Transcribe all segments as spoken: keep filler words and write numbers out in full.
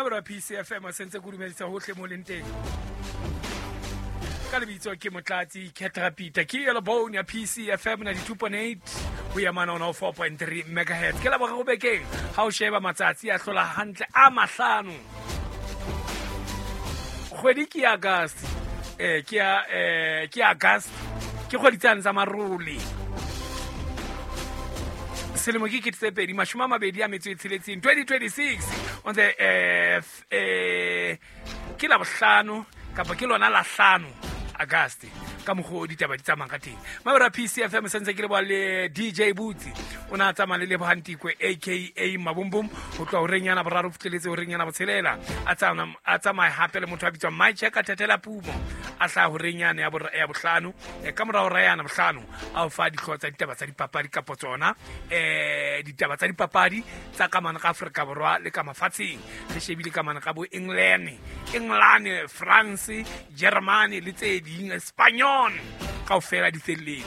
Mabero P C F M sentse go dumedisa hohle mo leng teng. Ka lebitso ke Motlatsi Ketrapita ke yellow bone ya P C F M ninety-two point eight ho ya mana one oh four point three megahertz. Ke la boraro bekeng ha o sheba matsatsi a hlola hantle a mahlano. Kgwedi ke August, eh ke ya eh ke August ke kgwedi tsane tsa marole. Selemo ke kete tse pedi mashome a mabedi a metso e tsheletseng twenty twenty-six on the eh eh ke la bohlano kapa ke lona la hlano August ka mokgwa ditaba di tsamayang ka teng. Mabero P C F M sentse ke le bua le D J Butsi o na tsamaya le Lebohantikwe A K A Mabumbum ho tloha horeng yana boraro fihleletse horeng yana botshelela a tsamaya a tsamaya hape le motho a bitswang Mike ka Thatela Pumo a hlaha horeng yana ya ya bohlano ka mora hora yana bohlano a o fa dihlooho tsa ditaba tsa dipapadi kapo tsona eh ditaba tsa dipapadi tsa ka mane ka Afrika Borwa le ka mafatsheng re shebile ka mane ka bo England England France Germany le tse ding Spanish kaofela di felletse.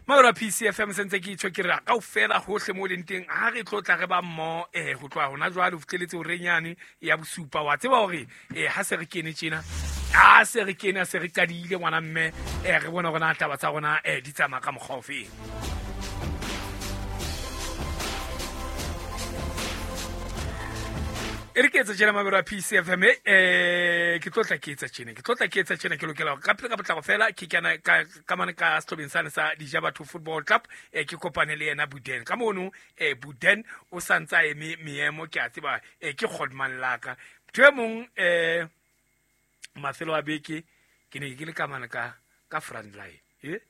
Mabero P C F M sentse ke itjho ke re kaofela hohle mo leng teng ha re tlo tla re ba mmo eh ho tloha hona jwale ho fihleletse horeng yane ya bosupa wa tseba hore eh ha se re kene tjena ha se re kene se re qadile ngwana mme eh re bona hore na taba tsa rona eh di tsamaya ka mokgwa ofe. E re ke etsa tjena mabero a P C F M eh ke tlotla ke etsa tjena ke tlotla ke etsa tjena ke lokela ka pele ka potlako fela ke kana ka ka mane ka sehlobeng sane sa Dija Batho Football Club eh ke kopane le yena Buden ka mono eh Buden o santsa eme meemo ke a tseba eh ke Godman laka motho e mong eh mafelo a beke ke ne ke le ka mane ka ka front line eh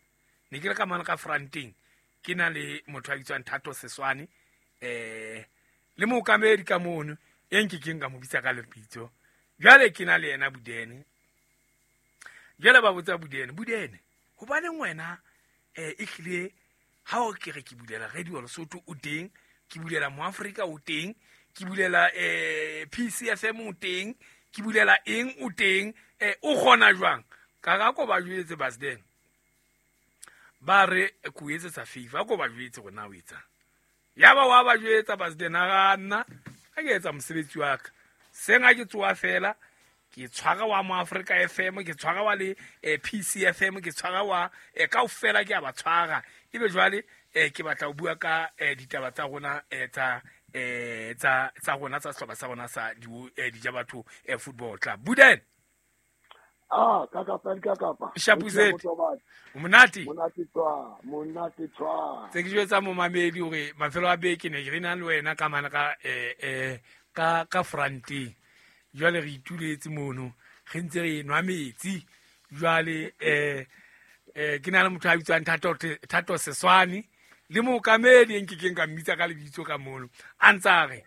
ne ke le ka mane ka fronteng ke na le motho a bitswang Thato Seswane eh le mookamedi ka mono e nke ke nka mo bitsa ka lebitso jwale ke na le yena Budene jwale ba botsa Budene Budene hobaneng wena eh e hlile ha o ke re ke bulela Radio Lesotho o teng ke bulela Moafrika o teng ke bulela eh P C F M o teng ke bulela eng o teng eh o kgona jwang ka ga ko ba jwetse Basden ba re ko etsetsa favor ko ba jwetse rona o etsa ya ba wa ba jwetsa Basden a nna a ke etsa mosebetsi wa ka seng a ke tsoa fela ke tshwara wa Moafrika F M ke tshwara wa le P C F M ke tshwara wa kaofela ke a ba tshwara ebe jwale ke batla ho bua ka ditaba tsa rona tsa tsa tsa rona tsa sehlopha sa rona sa Dija Batho Football Club. Buden ah ka kapa ka kapa Shapuzet monate monate tswa monate tswa tse ke jwetsa momamedi hore mafelo a beke ne re na le wena ka mana ka eh eh ka ka fronteng jwale re ituletse mono re ntse re nwa metsi jwale eh eh ke na le motho a bitswang Thato Thato Seswane le mookamedi nke ke nka mmitsa ka lebitso ka mono a ntsa re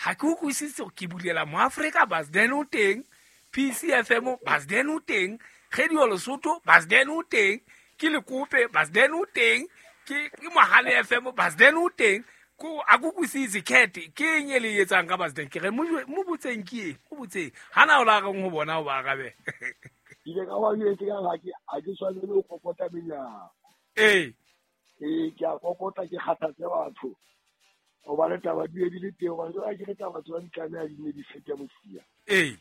ha ke utlwisise ke bulela Moafrika Basden o teng P C F M Basden o teng Radio Lesotho Basden o teng ke Lekope Basden o teng ke ke Mohale F M Basden o teng ko a kukusitse kete ke eng e le etsang ka Basden ke re mo botseng ke eng mo botseng hana o la reng ho bona o ba arabe ile ka wa jwetse ka ha ke a ke tshwanele ho kokota menyako eh eh ke a kokota ke kgathatse batho o ba le taba di di le teng wa ke re taba tswa di tlameha di ne di fete mosia eh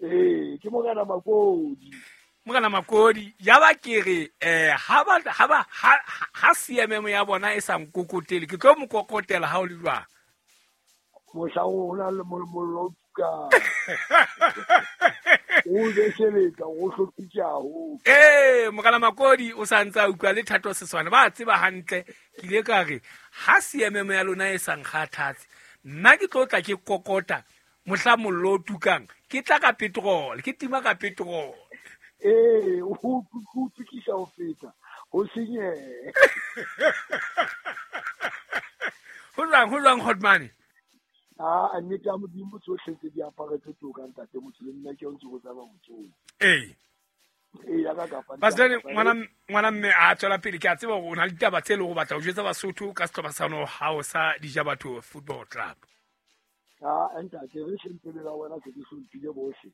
eh ke Morena Makodi Morena Makodi ya ba ke re eh ha ba ha ba ha C M M ya bona e sa nkokotele ke tlo mokokotela ha o le jwang mohla o na le mollo ka o beseletsa o hlopitsa ho eh Morena Makodi o sa ntsa utlwa le Thato Seswane ba tseba hantle ke ile ka re ha C M M ya lona e sa nkgathatse nna ke tlo tla ke kokota mohla mollo o tukang ke tla ka petrol ke tima ka petrol eh o o tukisa ho feta ho senye ho jwang ho jwang Godman ah nnete ya Modimo tsohle tse di aparetse toka ntate motho le nna ke o ntse go tsaba motho eh eh ya ka kapa Basden ngwana ngwana mme a tswela pele ke a tseba hore o na le ditaba tse le go batla ho jwetsa Basotho ka sehlopha sa no hao sa Dija Batho Football Club. Ah ntate re hlomphele la wena se ke hlomphile bohle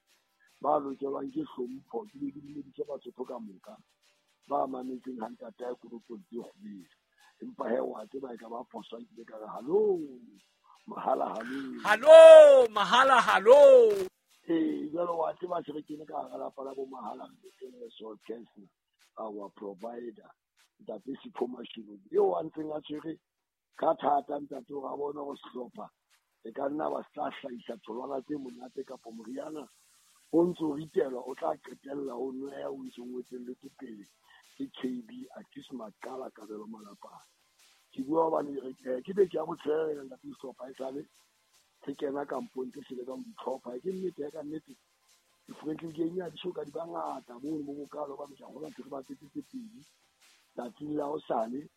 ba lokelwang ke hlompho ke be ke dumedise Basotho ka moka ba mametseng ha ntate a koropong tse kgubedu empa he wa tseba e ka ba phoso ke ka re hallo Mahala halo. Halo, mahala halo. Ee, jwale wa tseba se re kene ka hara lapa la bo Mahala re so Kesner, our provider. Ntate Sipho Mashilo eo a ntseng a tshwere ka thata ntate hore a bone hore sehlopha e ka nna ba se tla hlahisa tholwana tse monate kapo moriana o ntso ritelwa o tla qetella o nweha o ntso ngwetselletse pele ke K B Atis Maqala Kabelo Malapane. Ke bua hobane ke beke ya botshelela ntate sehlopha esale se kena kampong tse se leka ho ditlhopha. Ke nnete ya ka nnete di-friendly game ya di soka di ba ngata mono bo bokalo hobane ke a kgolwa ntse re bapetse tse pedi. Tsatsing la hosane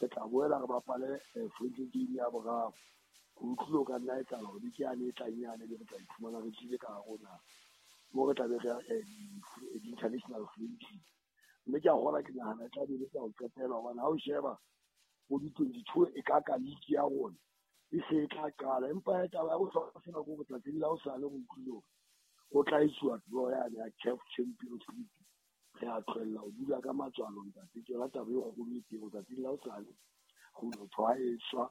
re tla boela re bapale friendly game ya boraro. Ho utlwile o ka nna etsahala hore beke yane e tlang yane be re tla iphumana re tlile ka hare ho naha moo re tla be re ya di-international friendly. Mme ke a kgolwa ke nahana e tla be e le tsa ho qetela hobane ha o sheba bo di-twenty-two e ka ka league ya rona e se e tla qala. Empa taba ya bohlokwa sena ke hore tsatsing la hosane re utlwile hore ho tla etsuwa draw yane ya C A F Champions League. Re a tlohella ho dula ka matswalo ntate, ke yona taba e kgolo e teng. Tsatsing la hosane ho motho ha e swa